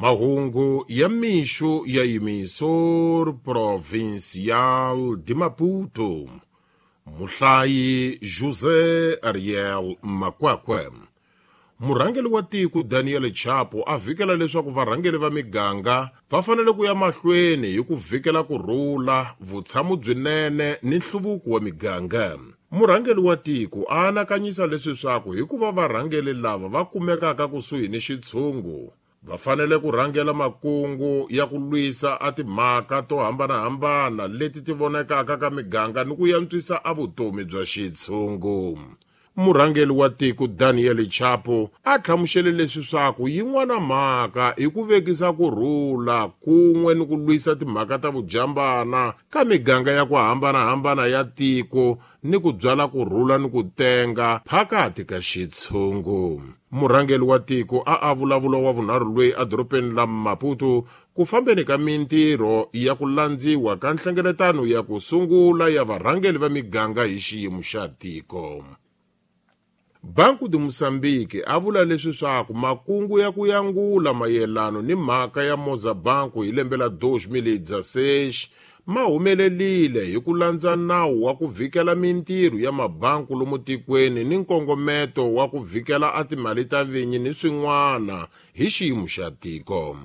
Mahungu ya mixo ya Emissor Provincial de Maputo. Muhlayi José Ariel Makwakwe. Murhangeri wa tiko Daniel Chapo a vhikela leswaku varhangeri va miganga va fanele ku ya mahlweni hi ku vhikela ku rhula, vutshamo byinene ni nhluvuko wa miganga. Murhangeri wa tiko a anakanyisa leswi swaku hikuva varhangeri lava va kumekaka kusuhi ni xitshungu va fanele ku rhangela makungu ya ku lwisa a timhaka to hambanahambana leti ti vonekaka ka miganga ni ku yantswisa a vutomi bya xitshungu. Murhangeri wa tiko Daniel Chapo a hlamusele leswi swaku yin'wana mhaka i ku vekisa ku rhula kun'we ni ku lwisa timhaka ta vujambana ka miganga ya ku hambanahambana ya tiko ni ku byala ku rhula ni ku tenga phakati ka xitshungu. Murhangeri wa tiko a a vulavula wa vunharhu lweyi edorobeni la Maputo ku fambeni ka mintirho ya ku landziwa ka nhlengeletano ya ku sungula ya varhangeri va miganga hi xiyimo xa tiko. Banco de Moçambique a vula leswi swaku makungu ya ku yangula mayelano ni mhaka ya Mozabanco hi lembe la 2016 ma humelelile hi ku landza nawu wa ku vhikela mintirho ya mabanku lomu tikweni ni nkongometo wa ku vhikela a timali ta vinyi ni swin'wana hi xiyimo xa tiko.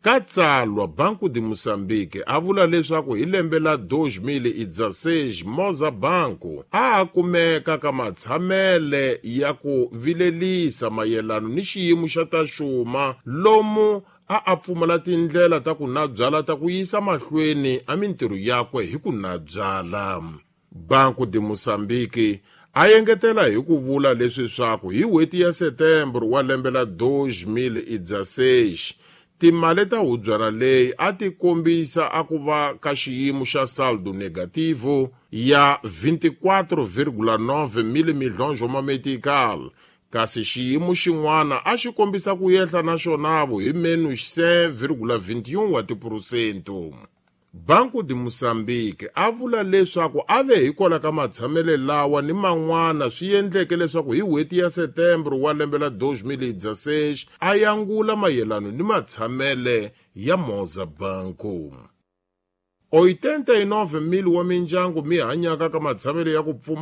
Ka tsalwa, Banco de Moçambique a vula leswaku hi lembe la 2016 Mozabanco a a kumeka ka matshamele ya ku vilelisa mayelano ni xiyimo xa ta xuma lomu a a pfumala tindlela ta ku nabyala ta ku yisa mahlweni a mintirho yakwe hi ku nabyala. Banco de Moçambique a engetela hi ku vula leswi swaku hi n'hweti ya Setembro wa lembe la 2016 timali ta hubyana leyi a ti kombisa a ku va ka xiyimo xa saldo negativo ya 24,9 mil milhões wa metical, kasi xiyimo xin'wana a xi kombisa ku yehla na xonavo hi menos 5,21 wa tiphurosento. Banco de Moçambique a vula leswaku a ve hikwalaho ka matshamele lawa ni man'wana swi endleke leswaku hi n'hweti ya Setembro wa lembe la 2016 a yangula mayelano ni matshamele ya Mozabanco. 89 mil wa mindyangu mi hanyaka ka matshamele ya ku pfumala.